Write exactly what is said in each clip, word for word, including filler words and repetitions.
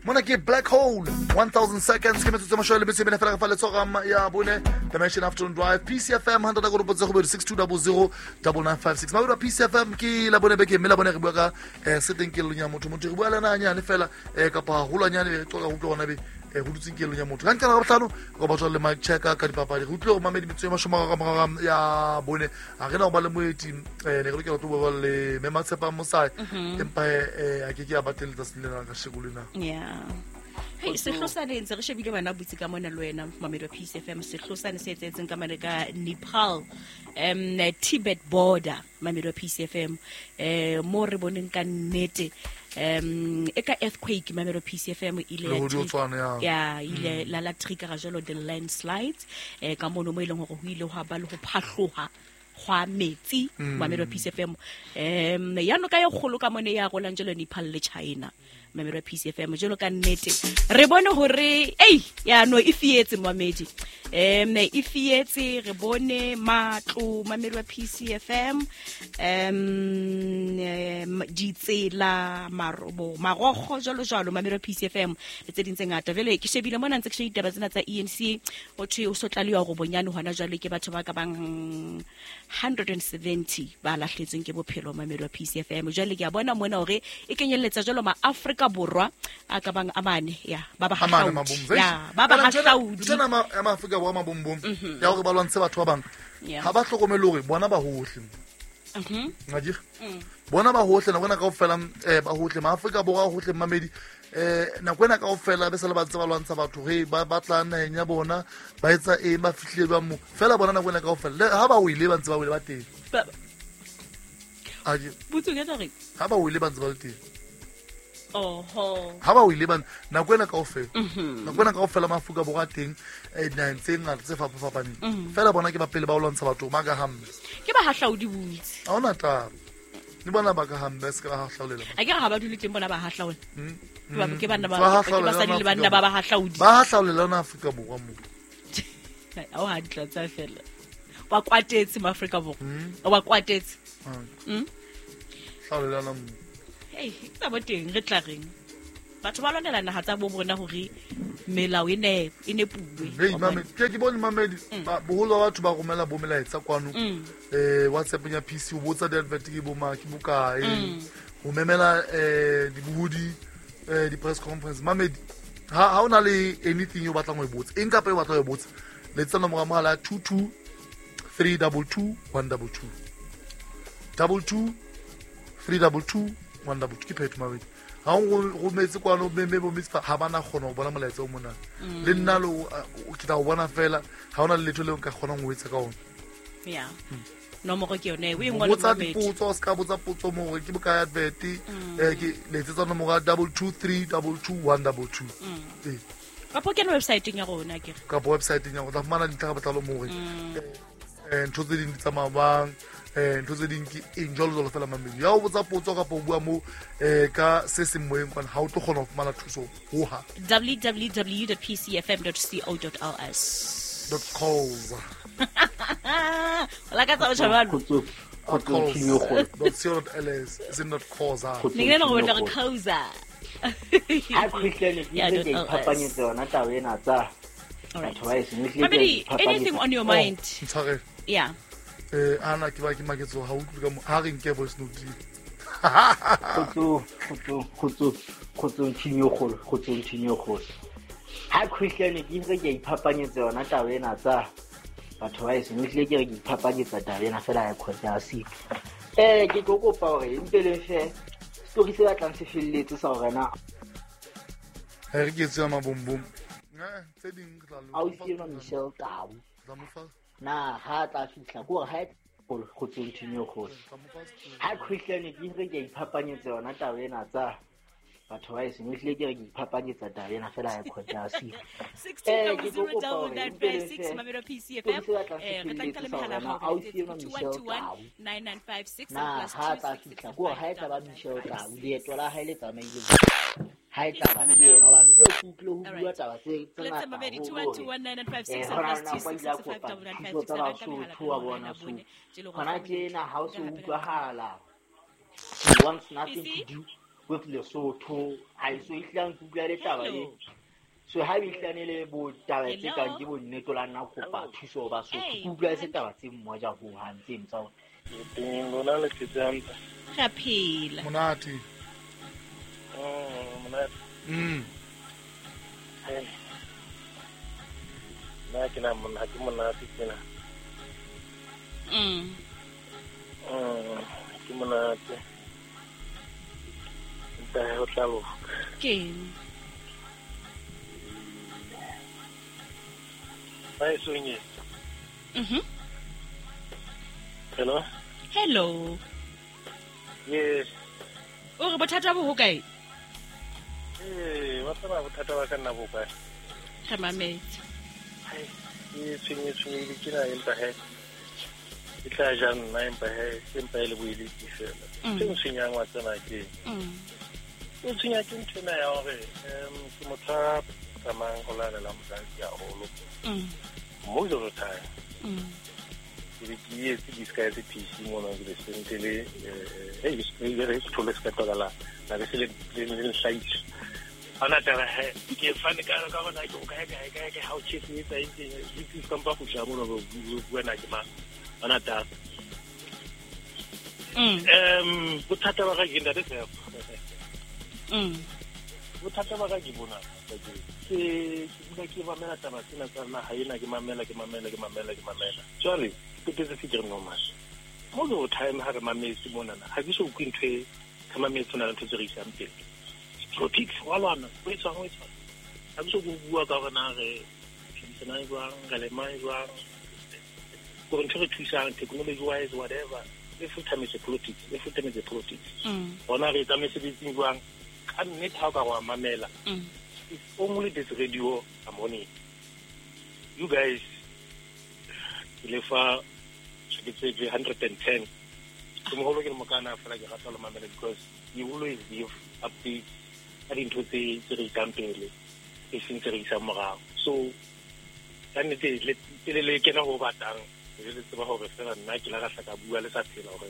Mona ke Black Hole one thousand seconds ke metsotso mashome le metso e mene fela re fa letsogo ya bone Dimension Afternoon Drive P C F M one hundred six two zero zero nine nine five six. Mabedi P C F M ke la bone beke mme la bone re bua ka eh se teng kelellong ya motho. Motho re bua le ena hanyane fela eh kapa haholwanyane re qoqa ho utlwa hona be eh ho dutseng kelellong ya motho. Ka ntlha ya bohlano re ba tswa le mic checker ka dipapadi. Re utlwe hore mamedi metso e mashome a mararo ya bone ha re na ho ba le moeti eh ne re lokela ho tlo bua le Mme Matshepa Mosai empa eh a ke ke a ba teng letsatsi lena ka sheko lena. Yeah. Hey, sehlosane ntse re shebile bana butse ka mona le wena Mamedi P C F M sehlosane se etsetseng ka mane ka Nepal um Tibet border Mamedi P C F M eh mo re boneng ka nnete um e ka earthquake Mamedi P C F M ile ya ya ile la la trigger jalo the landslides eh ka mono mo ileng hore ho ile ho ba le ho phahloha hwa metsi Mamedi P C F M um ya no ka ya kgolo ka mone ya golang jalo Nepal le China Mamedi P C F M jalo ka nnete re bone hore ei ya no e fietse Mamedi em e fietse re bone matlo Mamedi P C F M em ditsela marobo marogo jalo jalo Mamedi P C F M le tse ding tse ngata vele ke shebile mona ntse ke shebile ditaba tsena tsa E N C o thwe o sotlaliwa go bonyane hona jwale ke batho ba ka bang one hundred seventy ba lahletsweng ke bophelo Mamedi P C F M jwale ke a bona mona hore e kenyelletsa jalo ma Afrika Borwa a ka bang amane ya ba ba hahlaudi ya ba ba hahlaudi tsena ma Afrika Borwa mabombom ya hore ba lwantshe batho ba bang ha ba hlokomele hore bona ba hohle mhm ngajir bona ba hohle na bona kaofela eh ba hohle ma Afrika Borwa hohle Mamedi eh nako ena kaofela be se le ba tse ba lwantsha batho he ba batla naheng ya bona ba etsa eng ba fihlile ba mo fela bona nako ena kaofela ha ba wile ba ntse ba wile ba teng aje botso ke tla re ha ba wile ba ntse ba le teng oho ha ba wile ba nako ena kaofela nako ena kaofela ma Afrika Borwa teng eh dinaheng tse ngata tse fapafapaneng fela bona ke ba pele ba o lwantsha batho ba ka hambe ke ba hahlaudi botse ha ona taba ni bona ba ka hambe se ka hahlaulela a ke ha ba dule teng bona ba hahlaula ke banna ba ke basadi le banna ba ba hahlaudi ba hahlaulela na Afrika Borwa mo a o ha ditla tsa fela ba kwatetse ma Afrika Borwa o ba kwatetse mm hlaulela na mo hey ke tsa boteng re tla reng batho ba lwanela naha tsa bo bona hore melao e ne e ne puwe hey mame ke ke bone Mamedi boholo ba batho ba romela bo melaetsa kwano eh WhatsApp ya P C o botsa di advert ke bo ma ke bokae ho memela eh dibuhudi eh di press conference Mamedi ha ha ona le anything o batlang ho e botsa eng kapa e batlang ho e botsa letsa nomoro ya mohala two two three two two one two two two two three two two one two two ke phetho Mamedi ha o rometse kwano mme bo mitsa ha bana kgona ho bona molaetsa o mona le nna lo ke tla o bona fela ha ona le letho le nka kgonang ho etsa ka ona yeah nomoro ke yone o e ngole botsa dipotso o ska botsa potso mo hore ke bokae advert eh ke letsetsa nomoro ya two two three two two one two two eh kapo ke website ya rona ke kapo website ya rona tla fumana dintlha ka botlalo mo hore eh ntho tse ding di tsamaya bang eh ntho tse ding ke eng jwalo jwalo fela Mamedi ya o botsa potso kapa o bua mo eh ka se seng moyeng kwana ha o tlo kgona ho fumana thuso hoha w w w dot p c f m dot co dot l s dot calls la ka tsa o chabalo dot co dot l s is not calls ne ke go batla go causa ha Christian ke ke iphapanyetse yona taba ena tsa Mamedi, anything on your mind? Ntshware. Yeah. Eh ana ke ba ke maketso ha utlwe ka mo ha re nke voice note. Khotso khotso khotso khotso nthinyo kgolo khotso nthinyo kgolo. Ha Christian ke re ke iphapanyetse yona taba ena tsa batho ba e seng hlile ke re ke iphapanyetsa taba ena fela ya khotsa se. Eh ke tlo kopa hore mpe le fe story se batlang se felletse sa hore na ha re ke tswa mabombom. Eh tse ding re tla lo ausi ena Michelle Tau na ha tla fihla ko hore ha e khotso nthinyo kgolo ha Christian ke re ke iphapanyetse yona taba ena tsa batho ba e seng hlile ke re ke iphapanyetsa taba ena fela ya khotsa se sixteen zero nine five six Mamedi P C F M eh re tla nka le mehala ha ausi ena Michelle Tau nine nine five six na plus ha two tla six fihla ko hore ha e tla ba Michelle Tau leeto la hae le tsamaile ha e tla ba ke yena hobane yo ke utlwile ho bua taba tse tse Let's ngata Mamedi haholo two one two one nine nine five six eh hona plus na two kwa six ile six five kopa double nine five thuso six tsa re nka mehala Basotho wa bona so tje le hona tjena ha o se Ka utlwahala she wants nothing P C? to do with Lesotho ha e so ihlang kutlwa le taba e so ha e ihlane le bo taba tse kang ke bo nnete la nna kopa thuso ba Sotho ke utlwa e se taba tse mmoja ho hang tse ntsa teng lona le phetse hantle ra phela monate mm monate mm nna ke na monate monate tsena mm mm ke monate nta ho tla loka ke ba e sonye mhm hello hello yes o re bothata bo hokae eh wa tseba bothata ba ka nna bo kae re mametse hai ke tshwenye tshwenye ke na empa he ke tla ja nna empa he empa e le boeletsi fela se ntshwenyang wa tsena ke e tshwenya ke ntho ena ya hore um ke motho a tsamayang go lalela mosadi haholo most of the time ke be ke etse disguise P C mona ke le sente le eh eh ke thole se ka la la be se le le hlaitse ana taba he ke fane ka ka bona ke o kae kae kae how cheap e tsa eng ke ke kampa go tla mona go bua ke ma ana taba mm um bothata ba ga ke ntate Tshepo mm bothata ba ga ke bona ke ke bula ke mamela taba tsena tsa naha ena ke mamela ke mamela ke mamela ke mamela jwale ke tetse se ke re normal most of the time ha re mametse monana ha ke so utlwe ntho e re mametse na le ntho tse re isang pele politics wa lwana o etswang o etswang ha ke so go bua ka hore na re phedisanang jwang re lemang jwang gore ntho re thusang technology wise whatever every time it's a politics every time it's a politics bona re etsa mesebetsing jwang ka nnete ha o ka wa mamela it's only this radio I'm on it. You guys ke lefa ke tse one ten ke moholo ke mokana fela ke rata lo mamela because you always give updates ka dintho tse tse re isang pele e seng tse re isang morao so ka nnete le le kena ho batang le tseba hore fela nna ke la ka hla ka bua le sa phela hore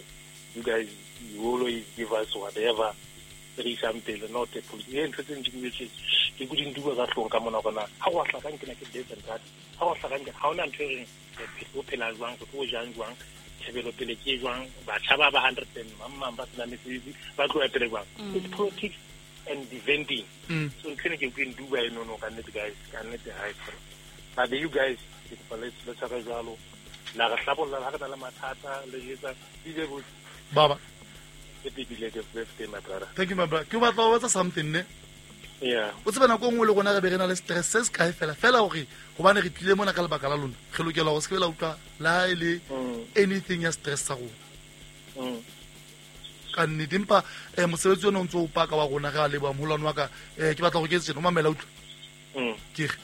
you guys you always give us whatever re isang pele not a policy ntho tse ntse ke ke go dinduwa ka hlong ka mona gona ha wa hlakang ke na ke this and that ha wa hlakang ha ona ntho e reng o phela jwang go tlo jang jwang tshebelo pele ke jwang batjha ba ba one hundred and mamma ba sena mesebetsi ba tloya pele jwang it's politics and defending so ntho ene ke ke nduwa eno no ka nnete guys ka nnete ha e fela but you guys ke kopa le le tshware jwalo la re hlabolla ha re na le mathata le etsa D J baba happy belated birthday my brother. Thank you my brother. Ke batla ho etsa something ne yeah o tseba nako nngwe le rona re be re na le stress se se kae fela fela hore hobane re tlile mona ka lebaka la lona re lokela ho se ke la utlwa la ha e le anything ya stress sa rona ka nnete empa eh mosebetsi ona o ntso o paka wa rona re a leboha moholwane wa ka eh ke batla hore ke etse tjena o mamela utlwa ke re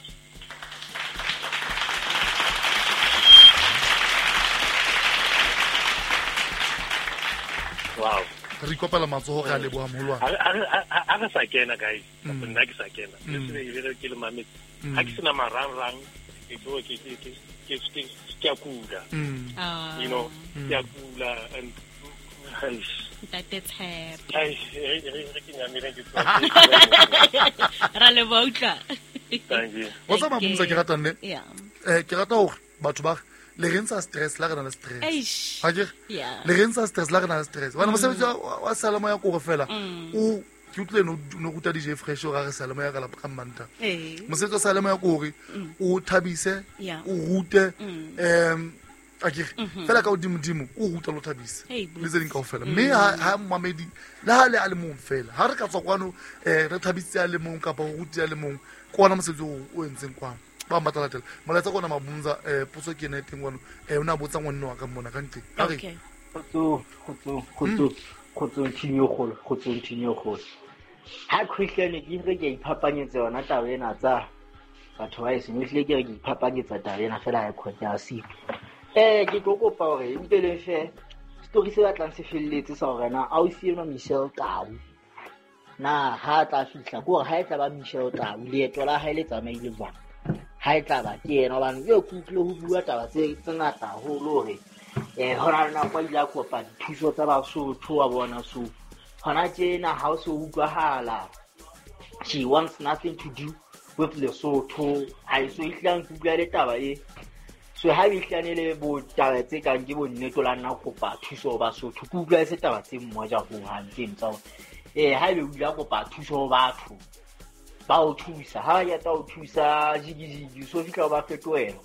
wow re ikopela matsoho re a leboha moholwane ha re sa kena guys nna ke sa kena ke se ke le mametse ha ke sena marangrang ke tlo ke ke ke ke ke a kula you know ke a kula and Ntate Tshepo ai re ke nyamile ke tswa ra leboha utlwa thank you wa tsaba mmusa ke rata nne yeah eh ke rata hore batho ba le re ntsha stress la re na le stress ha ke le re ntsha stress la re na le stress bana mosebetsi wa salamo ya kore fela o ke utlwe no no ruta D J Fresh o ra re salamo ya ka la ka mmanta mosebetsi wa salamo ya kore o thabise o rute em a ke fela ka godimo dimo o ruta lo thabise le tse ding kaofela mme ha mamedi le ha le a le mong fela ha re ka tswa kwano eh re thabisitse a le mong kapa o rutile a le mong ke ona mosebetsi o entseng kwano ba mbatla latela molaetsa kona mabunza eh potso ke ena e teng kwano eh o na botsa ngwanne wa ka mona ka ntle a re kgotso kgotso kgotso kgotso team e kgolo kgotso team e kgolo ha Christian ke re ke iphapanyetsa yona taba ena tsa batho ba e seng ehlile ke re ke iphapanyetsa taba ena fela ha e khone ya siko eh ke tlo kopa hore mpe le fe story se batlang se felletse sa hore na ausi eno Michelle Tau na ha tla fihla ke hore ha e tla ba Michelle Tau leeto la hae le tsamaile jwang ha e tla ba ke yena hobane ke utlwile ho bua taba tse tse ngata haholo hore eh hona le nako a ile a kopa dithuso tsa Basotho wa bona so Hona tjena ha o so utlwahala. She wants nothing to do with Lesotho. Ha e so ihlang ke utlwa le taba e. So ha e ihlane le bo taba tse kang ke bo nnete la nna kopa thuso ba Sotho. Ke utlwa se taba tse mmoja ho hang tse ntsa. Eh ha ebe o ile kopa thuso ho batho. Ba o thusa, ha ya ta o thusa jigijigi so fihla ba fetohela.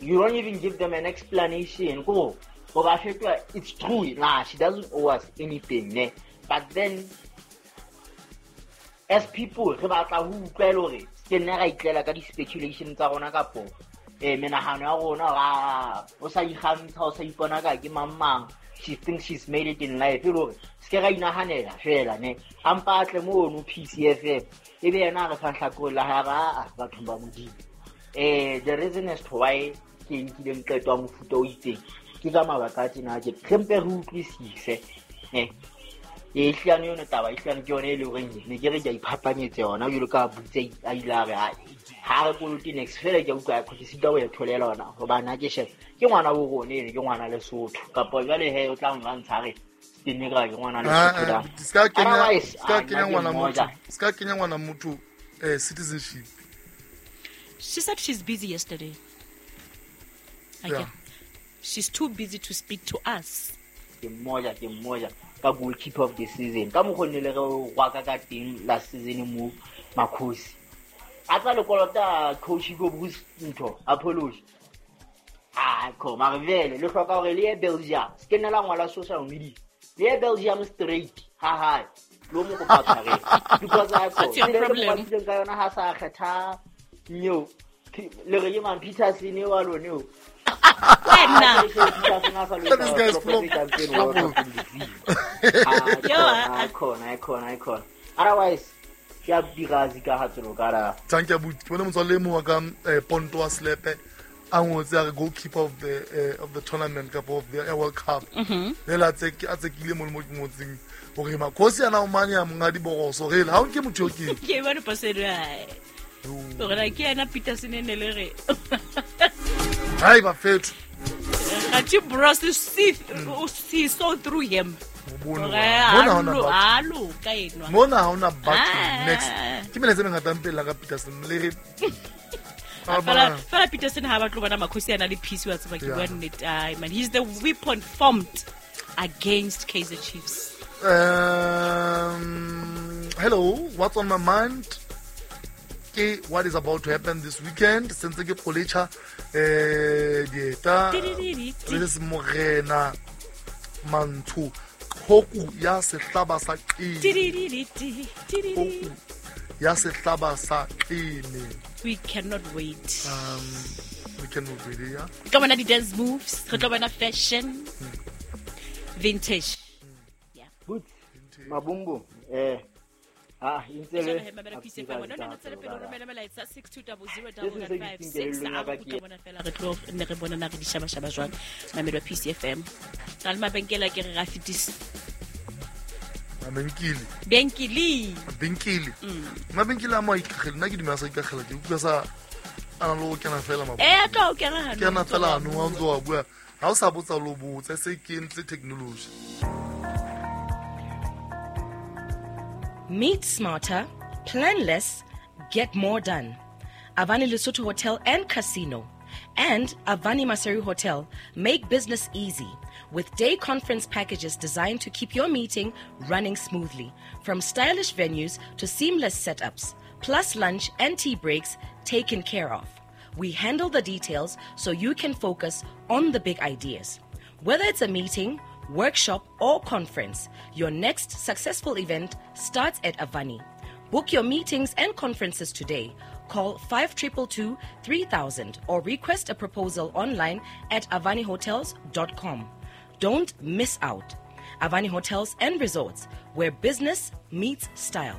You don't even give them an explanation. Go go ba fetoha, it's true. Nah, she doesn't owe us anything, ne. But then as people re batla ho utlwela hore ke nna ra itlela ka di-speculation tsa rona kapo eh menahano ya rona ra o sa ikgantsha o sa ipona ka ke mang mang. She thinks she's made it in life. E le hore se ke ra inahanela fela ne. A mpa a tle mono P C F M e be yena a re fang hlakore la hae a bathong ba Modimo. Eh the reason as to why ke nkileng qeto ya mofuta o itseng ke ka mabaka a tjena ke re mpe re utlwisise eh e hlano yona taba e hlano ke yona e le horeng ne ke re ke a iphapanyetse yona jwalo ka butse a ile a re ha re kolote next fela ke a utlwa ke sita ho ya tholela yona hobane ha ke shebe ke ngwana bo rona ene ke ngwana Lesotho kapa jwale he o tla nlwantsha re ke ne ka ke ngwana Lesotho da ska kenya ska kenya ngwana motho ska kenya ngwana motho eh citizenship. She said she's busy yesterday. Okay. Yeah. She's too busy to speak to us. Ke mmoja ke mmoja ka goalkeeper of the season. Ka mokgone le re wa ka ka teng last season mo Makhosi. A tla le kolota coach Hugo Bruce ntho apology. Ah ko marvele le hloka hore le ye Belgium. Se ke nna la ngwala social media. Le ye Belgium straight. Ha ha. Lo mo kopa tshwarelo. Because I ko. Le ka yona ha sa kgetha nyo. Le re man Peterson e wa lone o. Wena. This guy's flop. Yo, icon, icon, icon. Otherwise, ke a dirazi ka ha tselo ka ra. Thank you buti. Bona motswalle mo wa ka Ponto wa Slepe a ngotse a re goalkeeper of the uh, of the tournament cup of the World Cup. Le la tse a tsekile mo mo ke ngotseng hore Makhosi ana o mane a monga diboroso re ha o nke motho ke. Ke bona pasero. Hore ke ena Peterson ene le re. Hai ba fetho. Gachi bros see see so through him. Mona hona alo ka enwa. Mona hona batho next. Ke mele tse mengata mpela ka Peterson le re. Fela fela Peterson ha ba tlo bona Makhosi ana le peace wa tseba ke bua nnete. Ai man, he's the weapon formed against Kaizer Chiefs. Um hello, what's on my mind? Ke what is about to happen this weekend since ke qolecha eh dieta le se morena mantsho hoku ya sehlaba sa qini ya sehlaba sa qini. We cannot wait. Um we cannot wait, yeah. Ka bona di dance moves, re tlo bona fashion. Vintage. Yeah. Good. Mabumbu eh ah intsele six two zero zero five five six re tlo ne re bona na re dishaba shaba jwang Mamelodi P C F M ra le mabenkele ke re ra fitisa mabenkele benkele benkele mabenkele a mo ikagele nna ke dumela sa ikagela ke utlwa sa ana lo kena fela mabo eh tlo kena hano kena fela no wa ntso wa bua ha o sa botsa lo botsa se ke ntse technology. Meet smarter, plan less, get more done. Avani Lesotho Hotel and Casino and Avani Maseru Hotel make business easy with day conference packages designed to keep your meeting running smoothly, from stylish venues to seamless setups, plus lunch and tea breaks taken care of. We handle the details so you can focus on the big ideas. Whether it's a meeting, workshop or conference, your next successful event starts at Avani. Book your meetings and conferences today. Call five two two two, three thousand or request a proposal online at avani hotels dot com. Don't miss out. Avani Hotels and Resorts, where business meets style.